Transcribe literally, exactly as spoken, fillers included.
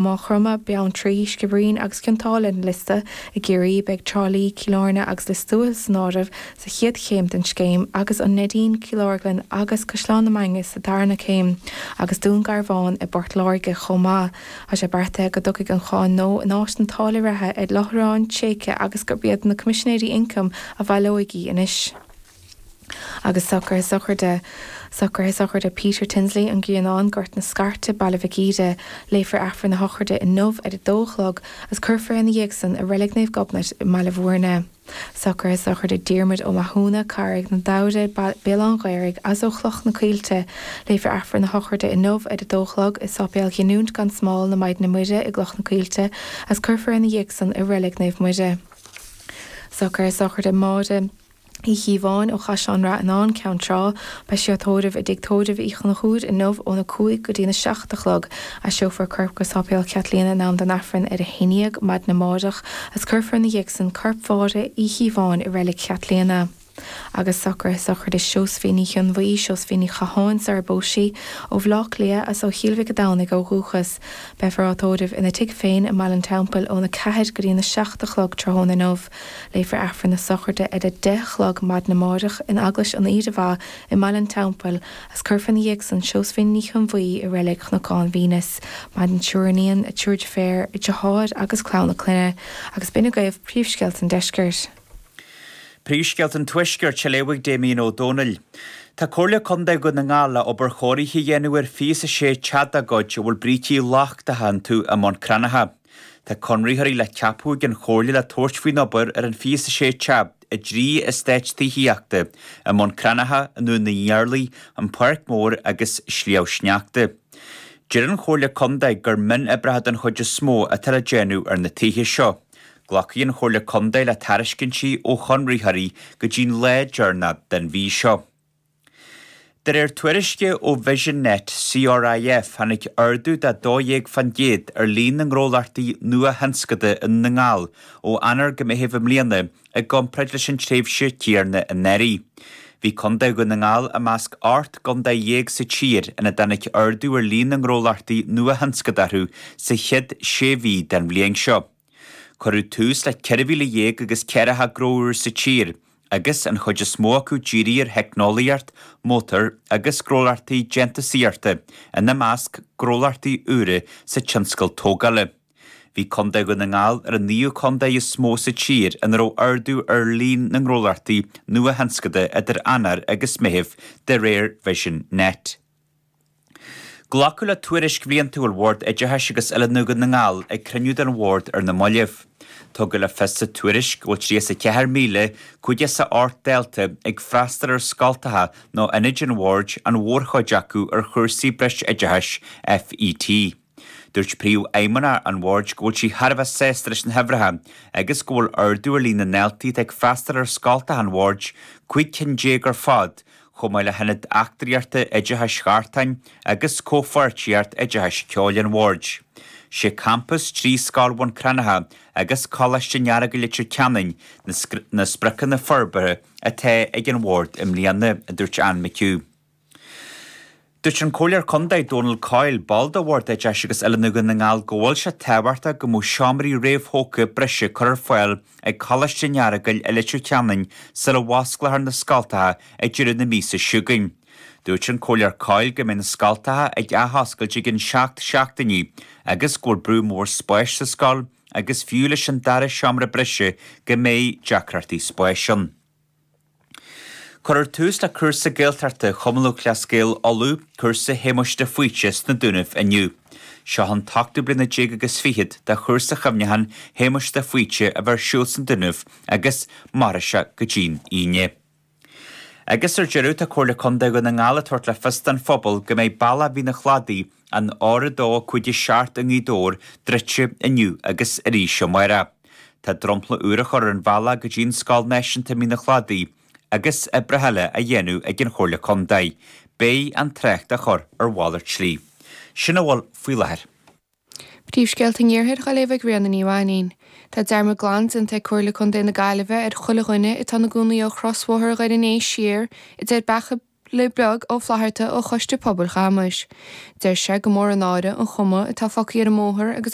Maigh Chromtha, Beanntraí, Skibbereen agus Cionn tSáile ar an liosta. I gCiarraí, beidh Trá Lí, Cill Airne agus Lios Tuathail san áireamh sa chéad chéim den scéim agus an Neidín, Cill Orglan agus Caisleán na Mainge sa darna céim agus Dún Garbhán i bPort Láirge chomh maith. Tá sé beartaithe go dtiocfaidh an cháin nua in áit na táille reatha ar láithreáin tséice agus gurb iad na Coimisinéirí Ioncaim a bhaileoidh í anois. Agus socruithe sochraide Socruithe sochraide Peter Tinsley, An Grianán, Gort na Scairte, Baile Mhic Íde. Léifear Aifreann na sochraide inniu ar a dó a chlog agus cuirfear é ina dhiaidh san i Reilig Naomh Gobnait i mBaile Bhúirne. Socruithe sochraide Diarmuid Ó Mathúna, Carraig na Damhra, Béal Átha'n Ghaorthaidh, as ó Chloch na Coillte. Léifear Aifreann na sochraide inniu ar a dó a chlog i Sáipéal Ghiniúint gan Smál na Maighdine Muire i gCloch na Coillte agus cuirfear é ina dhiaidh san i Reilig Naomh Muire. Socruithe sochraide Máire. Uí Chíobháin ó Chaisleán Rath Fhionáin, Ceann Trá. Beidh sí á tórramh i dTigh Tórraimh Uí Chonchúir inniu óna cúig go dtína seacht a chlog. Aistreofar a corp go Sáipéal Chaitlíona in am don Aifreann ar a haon dhéag maidin amárach agus cuirfear ina dhiaidh san corp Mháire Uí Chíobháin i Reilig Chaitlíona. Agus socruithe sochraide Seosaimhín Ní Chionbhuí, Seosaimhín Ní Chatháin sar a bpós sí, ó Bhleá Cliath as ó Chill Mhic a' Domhnaigh ó dhúchas. Beifear á tórramh ina tigh féin i mBaile an Teampaill óna ceathair go dtína seacht a chlog tráthnóna inniu. Léifear Aifreann na sochraide ar a deich a chlog maidin amárach in Eaglais an Aoire Mhaith i mBaile an Teampaill agus cuirfear ina dhiaidh san Seosaimhín Ní Chionbhuí i Reilig Chnocán Mhínus. Maireann triúr iníon, triúr deirféar, deartháir agus clann a clainne. Agus b'in agaibh príomhscéalta an deiscirt. Príomhscéalta an Tuaiscirt á léamh ag Damien Ó Dónaill. Tá Comhairle Contae Dhún na nGall le obair chóirithe a dhéanamh ar fiche is a sé teach dá gcuid a bhfuil brící lochtacha iontu i mBun Cranncha. Tá conraitheoirí le ceapadh ag an Chomhairle le tabhairt faoin obair ar an fiche is a sé teach i dtrí eastát tithíochta i mBun Cranncha, i nDún na nIarlaí, An Pháirc Mhór agus Sliabh Sneachta. Deir an Chomhairle Contae gur mionoibreacha den chuid is mó atá le déanamh ar na tithe seo. Glacfaidh an Chomhairle Contae le tairiscintí ó chonraitheoirí go dtí'n lá deireanach den mhí seo. De réir tuairisce ó Vision Net CRIF, tháinig ardú de dó dhéag fán gcéad ar líon na ngnólachtaí nuathionscanta i nDún na nGall ó Eanáir go Meitheamh i mbliana i gcomparáid leis an tréimhse chéanna anuraidh. Bhí Contae Dhún na nGall i measc ocht gcontae dhéag sa tír ina dtáinig ardú ar líon na ngnólachtaí nuathionscanta orthu sa chéad sé mhí den bhliain seo. Cuireadh tús le ceithre mhíle dhéag agus ceathracha gnó úr sa tír, agus an chuid is mó acu dírithe ar theicneolaíocht, mótair agus gnólachtaí déantúsaíochta, ina measc gnólachtaí úra sa tionscal tógála. Bhí Contae Dhún na nGall ar an naoú contae is mó sa tír ina raibh ardú ar líon na ngnólachtaí nuathionscanta idir Eanáir agus Meitheamh, de réir Vision Net. Glacadh le tuairisc bhliantúil Bhord Oideachais agus Oiliúna Dhún na nGall ag cruinniú den Bhord ar na mallaibh. Tugadh le fios sa tuairisc go bhfuil tríocha is a ceathair míle cúig chéad is a ocht dalta ag freastal ar scoltacha nó ionaid an Bhoird, an mhórchuid acu ar chúrsaí breisoideachais FET. Dúirt Príomhfheidhmeannach an Bhoird go bhfuil sí thar a bheith sásta leis na huimhreacha agus go bhfuil ardú ar líon na ndaltaí atá ag freastal ar scoltacha an Bhoird, cúig cinn déag ar fad, chomh maith le hIonad Eachtraíochta Oideachais Ghartáin agus Comhpháirtíocht Oideachais Ceoil an Bhoird. Sé Campas trí Scoil Bhun Cranncha agus Coláiste an Earagail Leitir Ceanainn na spriocanna forbartha atá ag an Bhord i mbliana, a dúirt Anne McHugh. Dúirt an Comhairleoir Contae Donal Coyle, ball de Bhord Oideachais agus Oiliúna Dhún na nGall, go bhfuil sé tábhachtach go mbeadh seomraí réamhthógtha breise curtha ar fáil ag Coláiste an Earagail i Leitir Ceanainn sula bhfosclófar na scoltacha ag deireadh na míosa seo chugainn. Dúirt an Comhairleoir Coyle go mbeidh na scoltacha ag athoscailt i gcionn seacht seachtainí agus go bhfuil brú mór spáis sa scoil agus fiú leis an dara seomra breise go mbeidh deacrachtaí spáis ann. Cuirfear tús le cúrsa Gaeltachta Chumann Lúthchleas Gael Uladh, cúrsa Shéamuis de Faoite sna Dúnaibh inniu. Seo an t-ochtú bliana déag agus fichead de chúrsa chuimhneacháin Shéamuis de Faoite a bheith ar siúl sna Dúnaibh agus mairfidh sé go dtí'n Aoine. Agus ar deireadh, tá Comhairle Contae Dhún na nGall ag tabhairt le fios don phobal go mbeidh bealach Mhín an Chladaigh, an R a dó cúig a seacht i nGaoth Dobhair, druidte inniu agus arís amárach. Tá dromchla úr á chur ar an bhealach go dtí an Scoil Náisiúnta Mín an Chladaigh agus oibreacha eile á dhéanamh ag an Chomhairle Contae. Beidh an trácht á chur ar mhalairt slí. Sin a bhfuil faoi láthair. Príomhscéalta an Iarthair á léamh ag Ríona Ní Mhainín. Tá dearmad glan déanta ag Comhairle Contae na Gaillimhe ar chuile dhuine atá ina gcónaí ó chrosbhóthar Dhoire an Fhéich siar, idir Beacha Beag Ó Flatharta ó Choiste Pobail Chamais. Deir sé gur mór an náire an chuma atá fágtha ar an mbóthar agus